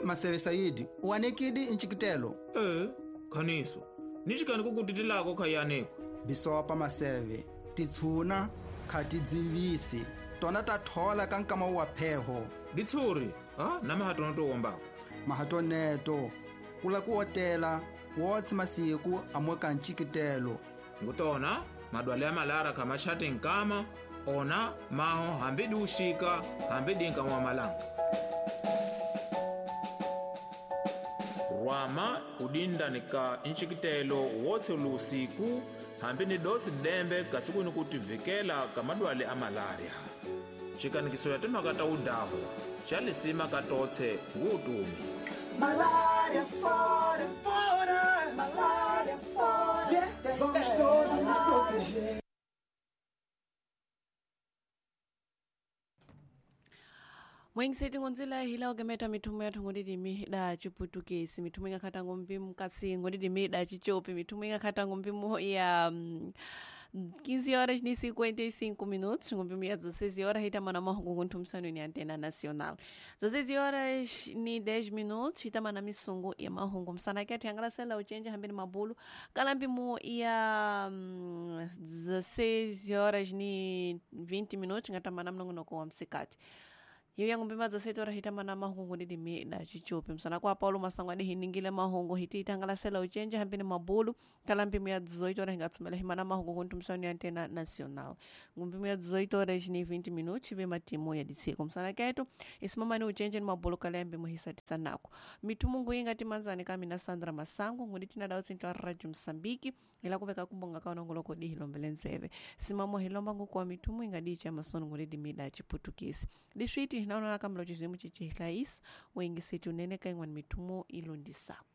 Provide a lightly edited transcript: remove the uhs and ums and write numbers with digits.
Maseve Saidi, uanekidi ncikitelo. Khaniso, ni xikani kukutitilako khayaneko. Bisopa Maseve, titshuna khatidzivisi, tona ta thola ka nkama wa pheho. Ditshuri, ha na mahatono to wombako. Mahatoneto, kula ku otela, wotsi masiku amoka ncikitelo. Ngutona, madwale ya malara khamachati nkama, ona maho hambi di uxika, hambi di nkama wa malanga. Rwama udinda ni ka ncikitelo wotse lusiku, hambi ni dotsi dembe kasi ku ni ku tivikela ka madwale a malaria. Xikanikiso ya timhaka ta udaho, xa lisima ka totse ngutumi. Malaria fora, fora, malaria fora. Yeah, vamos todos nos proteger. Mwengiseti ngonzela hila ogemeta mithumo yathu ngondidimi da chiputukesi mithumo ingakhata ngompimu kasi ngondidimi da chichopi mithumo ingakhata ngompimu ya 15 horas e 55 minutos, ngompimu ya 16 horas hitama na mahungu kunthumisano ni Antena Nacional. 16 horas e 10 minutos hitama na misungu ya mahungu msana kethu yangalasela uchenje hambeni mabulu kala mpimu ya 16 horas e 20 minutos ngatama na mnongonoko wa msikati. Hiyo yangu mpima za seto rahita mana mahungu ndidi da chichope msana kwa Paulo Masango adi hiningile mahungu hiti itangalasela uchenje hambini mabulu kala mpimu ya 18 horas ngatsumela himana mahungu kuntu msani ya Antena Nacional. Ngumpimu ya 18 horas ni 20 minutos ibe matimu ya diseko msana ketu isimama ni uchenje ni mabulu kala mpimu hisatisa nako. Mitumungu inga timanzani kami na Sandra Masango ngudi tina dao sintla Radio Msambiki ila kubeka kubonga kaona ngoloko di hilombele nzeve. Simamo hilomba nguku wa mitumu inga di cha masono ngudi mida chiputukisi. Diswiti naona kama chizimu chichihlaisi wengi setu nene kaingwa ni mitumo ilondisako.